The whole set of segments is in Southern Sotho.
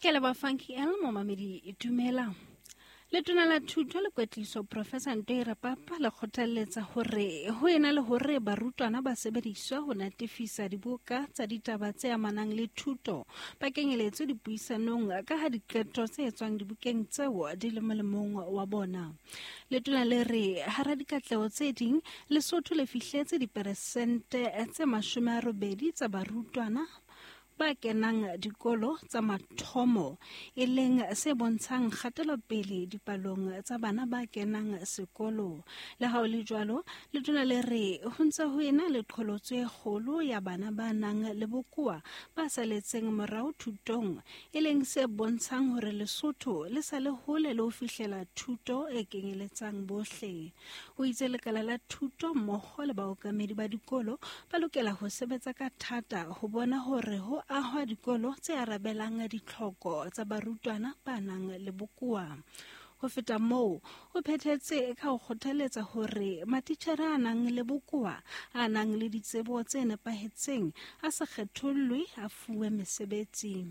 Ke leboha Funky L, momamedi dumela. Letona la Thuto le Kwetliso Professor Ntoi Rapapa le kgothalletsa hore ho ena le hore barutwana ba sebediswe ho natefisa dibuka tsa ditaba tse amanang le thuto, ba kenyeletswe dipuisanong ka ha diqeto tse etswang dibukeng tseo di le molemong wa bona. Letona le re hara dikatleho tse ding, Lesotho le fihletse diperesente tse 80 tsa barutwana ba kenang dikolo tsa mathomo, e leng se bontshang kgatelopele dipalong tsa bana ba kenang sekolo. Le ha ho le jwalo, letona le re ho ntse ho ena le qholotso e kgolo ya bana ba nang le bokowa ba saletseng morao thutong, e leng se bontshang hore Lesotho le sa le hole le ho fihlela thuto e kenyeletsang bohle. O itse lekala la thuto mmoho le baokamedi ba dikolo ba lokela ho sebetsa ka thata ho bona hore ho ahwa dikolo tse arabelang ditlhoko tsa barutwana ba nang le bokowa. Ho feta moo, o phethetse ka ho kgothaletsa hore matitjhere a nang le bokowa, a nang le ditsebo tse nepahetseng, a se kgethollwe, a fuwe mesebetsi.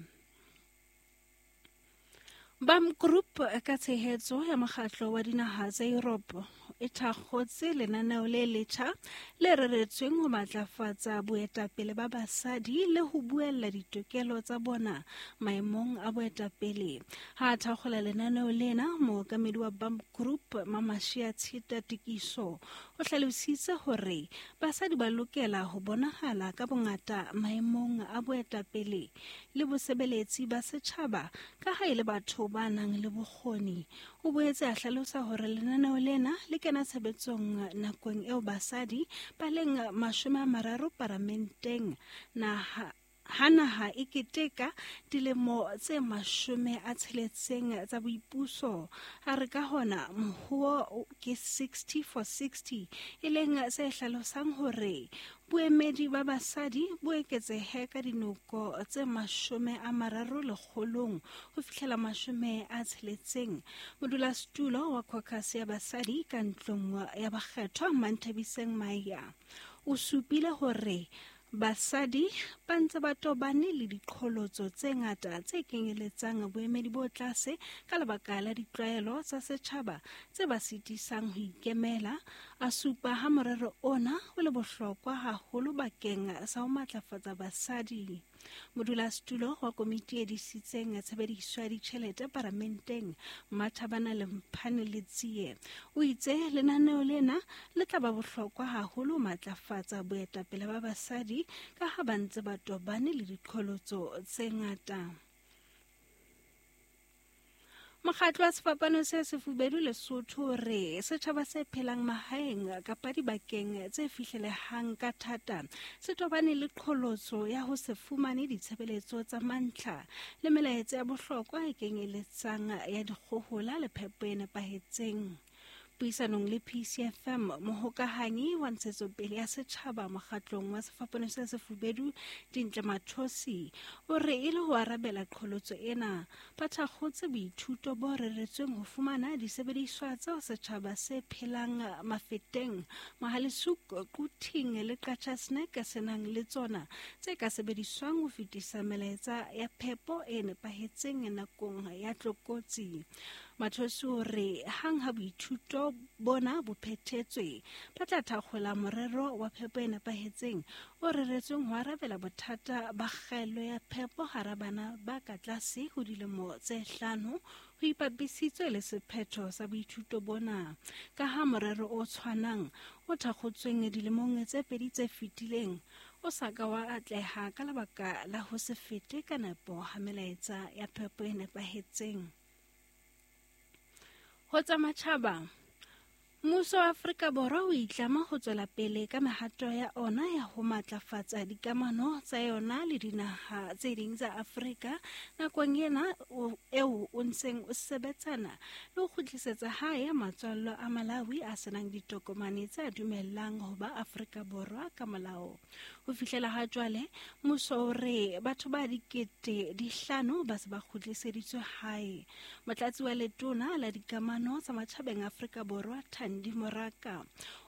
BAM Group ka tshehetso ya mokgatlo wa dinaha tsa Europe e thakgotse lenaneo le letjha le reretsweng ho matlafatsa boetapele ba basadi le ho buella ditokelo tsa bona maemong a boetapele. Ha a thakgola lenaneo lena, mookamedi wa BAM Group Mamashia Tshita Tikiso o hlalositse hore basadi ba lokela ho bonahala ka bongata maemong a boetapele le bosebeletsi ba setjhaba ka ha e le batho ba nang le bokgoni. O boetse a hlalosa hore lenaneo lena le kena tshebetsong nakong eo basadi ba leng 30 paramenteng naha ha naha e keteka dilemo tse 60 tsa boipuso. A re ka hona mohuo ke 60 for 60, e leng se hlalosang hore boemedi ba basadi bo eketsehe ka dinoko tse 30 lekgolong ho fihlela 60. Modulasetulo wa caucus ya basadi ka ntlong ya bakgethwa Manthabiseng Maya o supile hore basadi ba ntse ba tobane le diqholotso tse ngata tse kenyeletsang boemedi bo tlase ka lebaka la ditlwaelo tsa setjhaba tse ba sitisang ho ikemela. A supa ha morero ona o le bohlokwa haholo bakeng sa ho matlafatsa basadi. Modulasetulo wa komiti e disitseng tshebediso ya ditjhelete paramenteng Mathabana Lemphane Letsie o itse lenaneo lena le tla ba bohlokwa haholo ho matlafatsa boetapele ba basadi ka ha ba ntse ba tobane le diqholotso tse ngata. Mokgatlo wa Sefapano se Sefubedu Lesotho re setjhaba se phelang mahaeng kapa dibakeng tse fihlelehang ka thata se tobane le qholotso ya ho se fumane ditshebeletso tsa mantlha le melaetsa ya bohlokwa e kenyeletsang ya dikgohola le phepo e nepahetseng. Puisanong le PCFM, mohokahanyi wa ntshetsopele ya setjhaba mokgatlong wa Sefapano se Sefubedu Dintle Mathosi o re e le ho arabela qholotso ena, ba thakgotse boithuto bo reretsweng ho fumana disebediswa tseo setjhaba se phelang Mafeteng, Mohale'shoek, Quthing le Qacha's Nek se nang le tsona tse ka sebediswang ho fetisa melaetsa ya phepo e nepahetseng nakong ya tlokotsi. Mathosi o re hang ha boithuto bona bo phethetswe, ba tla thakgola morero wa phepo e nepahetseng o reretsweng ho arabela bothata ba kgaello ya phepo hara bana ba ka tlase ho dilemo tse 5 ho ipapisitswe le sephetho sa boithuto bona. Ka ha morero o tshwanang o thakgotsweng dilemong tse 2 tse fetileng o sa ka wa atleha ka lebaka la ho se fete ka nepo ha melaetsa ya phepo e nepahetseng. Ho tsa matjhaba, mmuso wa Afrika Borwa o itlama ho tswela pele ka mehato ya ona ya ho matlafatsa dikamano tsa yona le dinaha tse ding tsa Afrika nakong ena eo o ntseng o sebetsana le ho kgutlisetsa hae matswallo a Malawi a senang ditokomane tse dumellang ho ba Afrika Borwa ka molao. Ho fihlela ha jwale, mmuso o re batho ba 5,000 ba se ba kgutliseditswe hae. Motlatsi wa letona la dikamano tsa matjhabeng Afrika Borwa Thandi Andy Moraka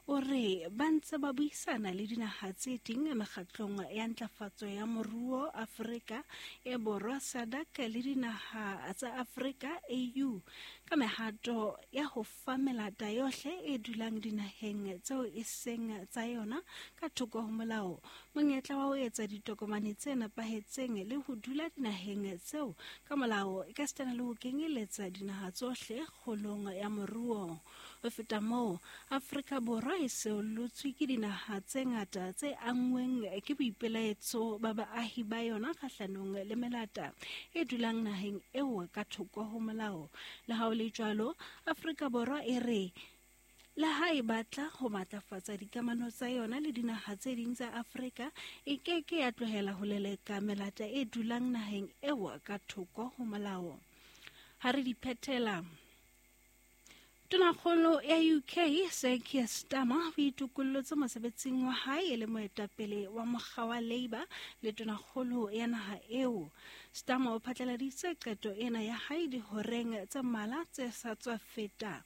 o re ba ntse ba buisana le dinaha tse ding mekgatlong ya ntlafatso ya moruo Afrika e Borwa SADC le dinaha tsa Afrika AU ka mehato ya ho fa melata yohle e dulang dinaheng tseo e seng tsa yona ka thoko ho molao monyetla wa ho etsa ditokomane tse nepahetseng le ho dula dinaheng tseo ka molao e ka sitana le ho kenyeletsa dinaha tsohle kgolong ya moruo. Ho feta moo, Afrika Borwa e seolotswe ke dinaha tse ngata tse anngweng ke boipelaetso ba baahi ba yona kgahlanong le melata e dulang naheng eo ka thoko ho molao. Le ha ho le jwalo, Afrika Borwa e re le ha e batla ho matlafatsa dikamano tsa yona le dinaha tse ding tsa Afrika, e ke ke ya tlohela ho leleka melata e dulang naheng eo ka thoko ho molao. Ha re di phethela, Tonakgolo ya UK Sir Keir Starmer o itokollotse mosebetsing wa hae e le moetapele wa mokga wa Labour le tonakgolo ya naha eo. Starmer o phatlaladitse qeto ena ya hae dihoreng tse mmalwa tse sa tswa feta,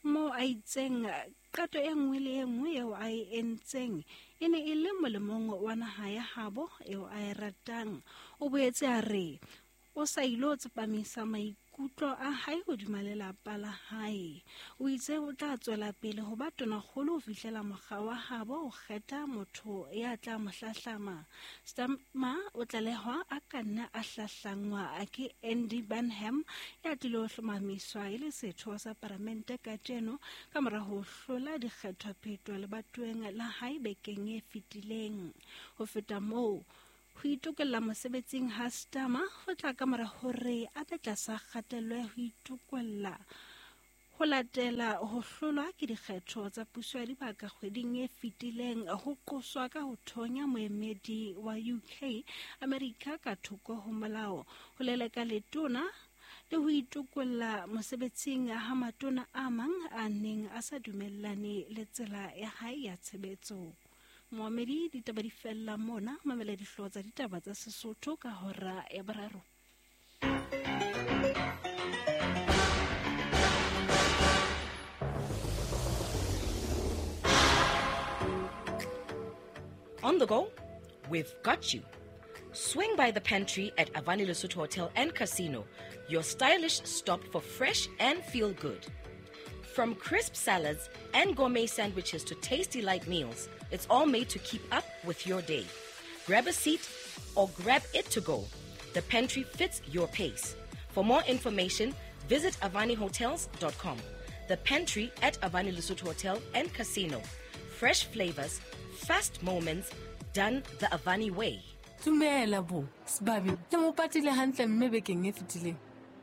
moo a itseng qeto e nngwe le e nngwe eo a e entseng e ne e le molemong wa naha ya habo eo a e ratang. O boetse a re o sa ilo tsepamisa maikutlo a hae hodima lelapa la hae. O itse o tla tswela pele ho ba tonakgolo ho fihlela mokga wa habo o kgetha motho ya tla mo hlahlama. Starmer o tlalehwa a ka nna a hlahlangwa ke Andy Burnham ya tlilo hlomamiswa e le setho sa paramente kajeno ka mora ho hlola dikgethophetho lebatoweng la hae bekeng e fetileng. Ho feta moo, ho itokella mosebetsing ha Starmer ho tla ka mora hore a be tlasa kgatello ya ho itokolla ho latela ho hlolwa ke dikgetho tsa puso ya dibaka kgweding e fetileng, ho qoswa ka ho thonya moemedi wa UK America ka thoko ho molao, ho leleka letona le ho itokolla mosebetsing ha matona a mang a neng a sa dumellane le tsela ya hae ya tshebetso. Moamedi, ditaba di fella mona, mamela dihlooho tsa ditaba tsa Sesotho ka hora ya boraro. On the go? We've got you. Swing by the pantry at Avani Lesotho Hotel and Casino, your stylish stop for fresh and feel good. From crisp salads and gourmet sandwiches to tasty light meals, it's all made to keep up with your day. Grab a seat or grab it to go. The pantry fits your pace. For more information, visit avanihotels.com. The pantry at Avani Lesotho Hotel and Casino. Fresh flavors, fast moments, done the Avani way. Dumela bo, Sebabi, le mo patile hantle mme bekeng e fetileng.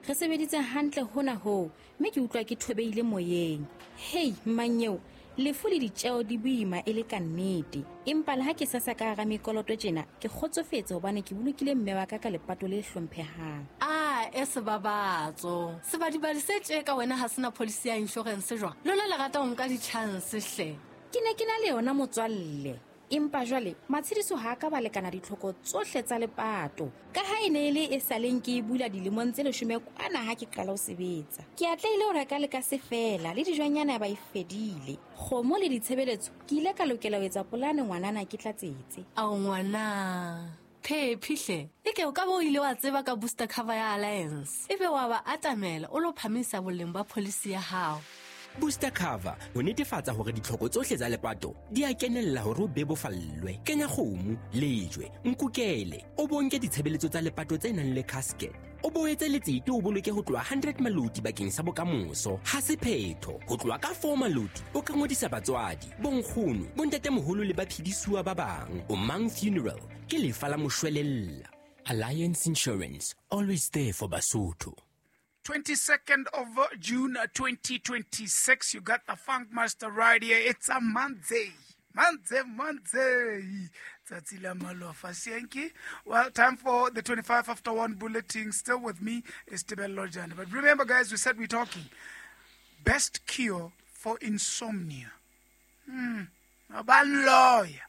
Re sebeditse hantle hona hoo, mme ke utlwa ke thobeile moyeng. Hei, mmanyeo, lefu le ditjeo di boima e le ka nnete. Empa le ha ke sasa ka hara mekoloto tjena, ke kgotsofetse hobane ke bolokile mme wa ka ka lepato le hlomphehang. A e sebabatso. Sebadibadi se tje ka wena ha sena policy ya insurance jwang? Lona le rata ho nka di-chance hle. Ke ne ke na le yona motswalle. Empa jwale matshediso ha ka ba lekana ditlhoko tsohle tsa lepato. Ka ha e ne e le e saleng ke e bula dilemong tse 10 kwana ha ke qala ho sebetsa. Ke atlehile ho reka le ka se fela le dijwanyana ba e fedile. Kgomo le ditshebeletso ke ile ka lokela ho etsa polane ngwanana ke tlatsetse. Ao ngwana, phephi hle. Eke o ka bo ile wa tseba ka booster cover ya Alliance. Ebe wa ba atamela o lo phamisa boleng ba policy ya hao. Booster cover ho netefatsa hore ditlhoko tsohle tsa lepato di a kenella hore o bebofallwe. Kenya kgomo, lejwe, nkukele, o bonke ditshebeletso tsa lepato tse nang le casket. O boetse letsete o boloke ho tloha 100 maloti bakeng sa bokamoso. Ha se phetho, ho tloha ka 4 maloti o ka ngodisa batswadi, bonkgono, bontatemoholo le baphedisuwa ba bang. O Mang Funeral ke lefa la moshwelella. Alliance Insurance, always there for Basotho. 22nd of June 2026. You got the Funk Master right here. It's a Monday. Monday. Tsatsi la malofa. Sienki. Well, time for the 25 after 1 bulletin. Still with me is Tebello Jane. But remember, guys, we said we're talking best cure for insomnia. Lawyer.